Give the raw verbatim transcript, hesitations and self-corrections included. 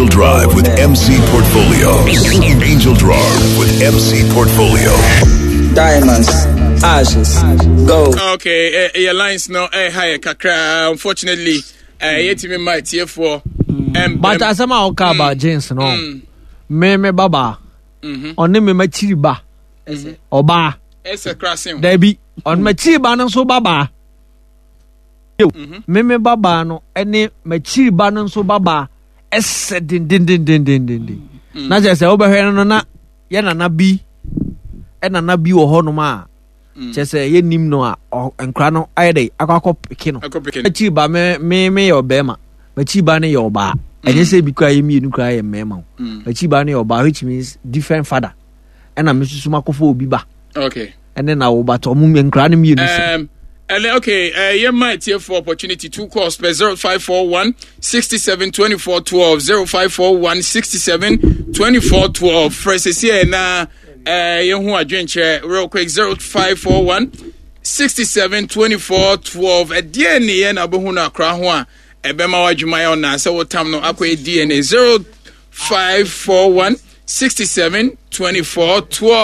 Angel Drive with M C Portfolios. Angel Drive with M C Portfolio. Diamonds, ashes, gold. Okay, uh, your lines no eh high kakra, unfortunately. Eh yɛtumi ma atiefoɔ. But asɛm a woka about jeans no, me me babaa ɔne me makyiri ba ɔbaa. Ɛsɛ kra sen. Dabi, ɔne makyiri ba no nso babaa. Me me babaa no ɛne makyiri ba no nso babaa ɛsɛ dendendendendenden na kyerɛ sɛ wobɛhwɛ no no na yɛ nana bi, ɛnana bi wɔ hɔnom a kyerɛ sɛ yɛnim no a ɔ- nkora no ayɛ dɛ akɔ akɔ peke no. Akɔ peke no. Makyiri ba, me me me yɛ ɔbɛrima, makyiri ba no yɛ ɔbaa. Ɛnyɛ sɛ bi koraa yɛ mmienu koraa yɛ mmarima o. Makyiri ba no yɛ ɔbaa, which means different father, ɛna me nso so makɔfa obi ba okay ɛne na wo ba tɔ ɔmo nkora no mmienu sɛ Um, and then, okay, uh, yeah, my for opportunity two calls per zero five four one sixty-seven twenty-four twelve, zero five four one sixty-seven twenty-four twelve. First, here na uh, you who are drinking real quick, zero five four one sixty-seven twenty-four twelve. A D N A na bohu na akra ho a ebema wadwuma ya na sɛ wotam no akɔ D N A, zero five four one sixty-seven twenty-four twelve.